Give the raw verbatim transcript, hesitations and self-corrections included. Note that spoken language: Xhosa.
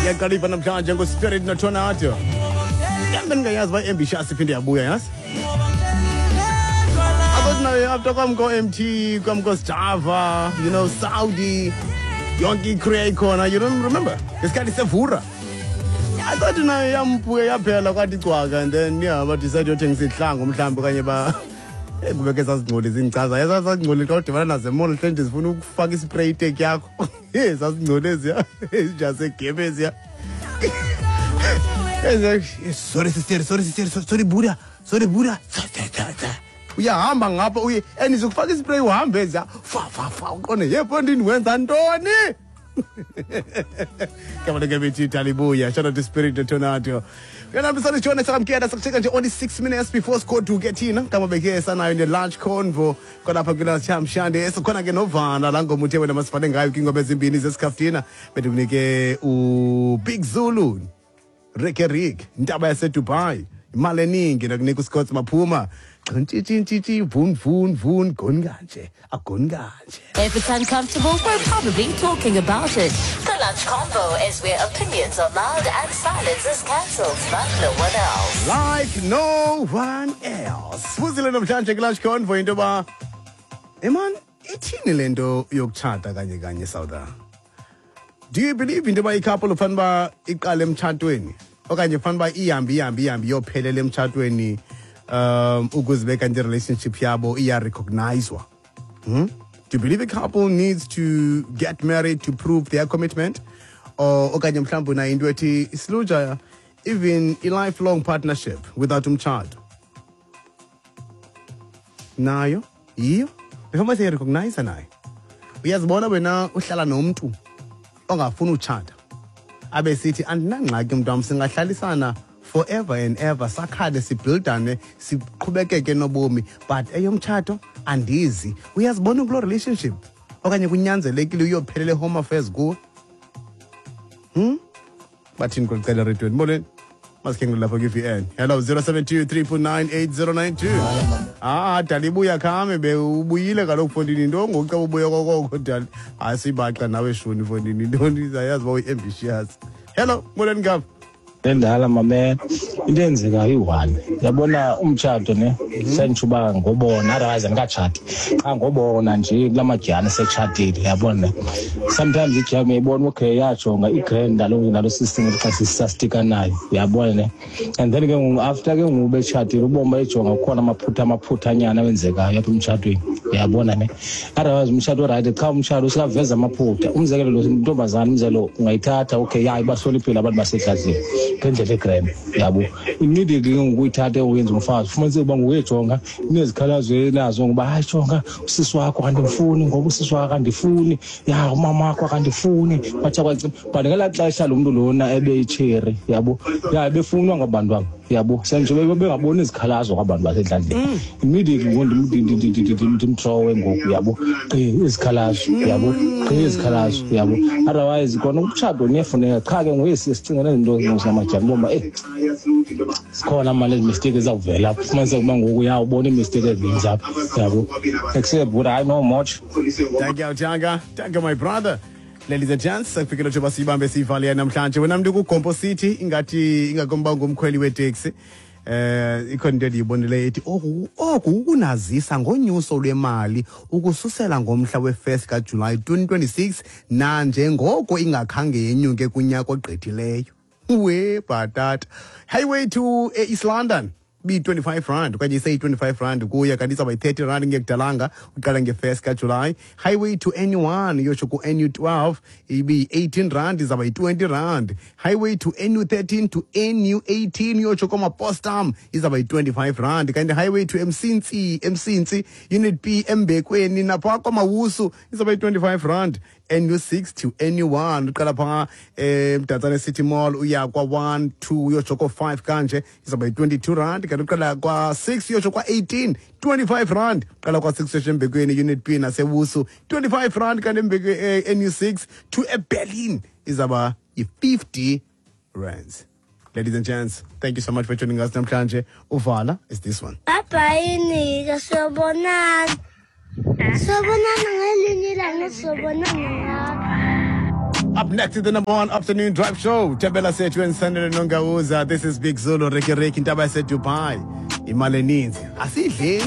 Ngiyaqala namhlanje ngoSpirit noTornado. Kambe ningayazi uba i-Ambitious iphinde yabuya, yazi? I thought nayo after kwamko M T, kwamko Java, you know, Saudi, yonke i-crew ikhona, you don't remember? Ngesikhathi sevura. I thought nayo yampuke yaphela kwathi cwaka, and then yeah, ba decide yothengisa ihlangu mhlawumbi okanye ba Eh kubeke sazingcoli zingichaza. Yasazingcoli xa udibana nazo e-mall, mhlawumbe zifuna ukufaka i-spray tag yakho. Eh sazingcoli eziya. Ijase eziya. Sorry sister, sorry sister, sorry buda, sorry buda. Uyahamba ngapha uye and izokufaka i-spray uhambe eziya. Fa fa fa, uqonde yepho ndini wenza ntoni? Kama ke bethi Talibuya. Shout out to Spirit Tornado. Yena msana jona sakamkela sakucheka nje only six minutes before score to get in. Kama beke sanayo ne lunch convo khona kula Chamshande. Sikhona ke novana la ngoma uthe wena masifane ngayo kingoba ezimbini zesikhaftina. Bekunike u Big Zulu. Rick Rick, Ntaba yase Dubai. Imali eningi nakunika uScott Maphuma. Ntshi vun vun vun goni kanje. Agoni kanje. If it's uncomfortable, we're probably talking about it. The Lunch Convo is where opinions are loud and silence is cancelled like no one else. Like no one else. Sibuzile namhlanje ku Lunch Convo into ba Eman ithini lento yokutshata kanye kanye South? Do you believe into ba i-couple ufana ba iqale emtshatweni okanye ufana ba ihambe ihambe ihambe iyophelela emtshatweni um ukuze beka nje relationship yabo iya recognizwa? Hmm? Do you believe a couple needs to get married to prove their commitment? Or okanye mhlawumbe una into ethi isiluja even a lifelong partnership without umtshato nayo yiyo before say recognize nayo? Uyazibona wena uhlala nomuntu ongafuni utshata abe sithi andinangxaki mntu wam, singahlalisana forever and ever, sakhale sibuildane siqhubekeke nobomi, but eyomtshato andizi. Uyazibona kuloo relationship okanye kunyanzelekile uyophelela e-Home Affairs kuwe? Hmm? Bathini kulicela redweni? Molweni, masikhe lapha kwi-V N. Hello, zero seven two three four nine eight zero nine two. Ah, dali, buya khame be ubuyile kaloku fondini into ngoku xa ubuya kokoko dali. Hayi, sibaxa nawe shuni fondini intoni, zayazi uba uyi-ambitious. Hello, molweni ngapha. Endala mame, into eyenzekayo iyi-one, yabona umtshato ne senditsho ngobona, otherwise andikatshati qha ngobona nje kula madyana esetshatile, yabona. Sometimes ijam uyayibona, okay, yajonga i-grand nalo nalo system xa sisastika nayo, uyabona ne. And then ke ngoku after ke ngoku betshatile ubomi bayijonga, kukhona amaphutha amaphuthanyana awenzekayo apha emtshatweni, uyabona ne. Otherwise umtshato right, qha umtshato usaveza amaphutha. Umzekelo, lo ntombazana, umzekelo, ungayithatha, okay, ya ibahloniphile abantu basedladleni ngendlela e-grand, yabo. Immediately ke ngoku uyithathe uyenze umfazi, ufumaniseke uba ngokuyejonga inezikhalazo enazo ngoba hayi jonga usisi wakho akandifuni, ngoba usisi wakho akandifuni, ya umama wakho akandifuni, batsha kwacima. But ngelaa xesha lo mntu lona ebeyitsheri, yabo, ya ebefunwa ngabantu abo, yabo, senje bengaboni izikhalazo kwabantu basedladleni. Immediately ngoku ndimthrowe ngoku, yabo, gqi izikhalazo, yabo, gqi izikhalazo, yabo. Otherwise kona umtshato niyafuneka, qha ke ngoku sicinga nezinto zingamajani bomba eh sikhona manje ezi mistake ezawuvela apha, ufumaniseke uba ngoku ya ubona ii-mistake ezininzi apha, yabo, except but hayi no much. Thank you, Tanga. Thank you, my brother. Ladies and gents, sekufikile njengoba siyibambe siyivale namhlanje. Wena mntu kuGompo City, ingathi ingakomba ngumkhweli weteksi. Eh ikhona into endiyibonileyo ethi oku oku ukunazisa ngonyuso lwemali ukususela ngomhla we-first kaJulayi twenty twenty-six nanjengoko ingakhange yenyuke kunyaka ogqithileyo. We bhatata. Highway to eh, East London bi twenty-five rand okanye iseyi twenty-five rand kuya, kanti izawuba yi-thirty rand ngekudalanga uqala nge-first kaJulayi. Highway to N U one iyotsho ku-N U twelve ibi-eighteen rand, izawuba yi-twenty rand. Highway to N U thirteen to N U eighteen iyotsho komapostam izawuba yi-twenty-five rand, kanti highway to Emsintsi Emsintsi Unit B Embekweni napha kwaMawusu izawuba yi-twenty-five rand. N U six to N U one uqala phaa eMdantsane City Mall uya kwa-one two uyotsho ko-five kanje izawuba yi-twenty-two rand, kanti uqala kwa-six uyotsho kwa-eighteen, twenty-five rand. Uqala kwa-six uyotsho Embekweni Unit B naseWusu, twenty-five rand, kanti Embekwe eh, N U six to eBerlin izawuba yi-fifty rands. Ladies and gents, thank you so much for joining us namhlanje. Uvala is this one. Bye bye, Nika. Sobonana. Sobonana ngelinye ilanga, sobonana ngapha. Up next is the number one afternoon drive show. Thembela Sethu and Sanele Nongauza. This is Big Zulu, Reki Reki, Intaba Dubai. Imali eninzi. Asidlembi.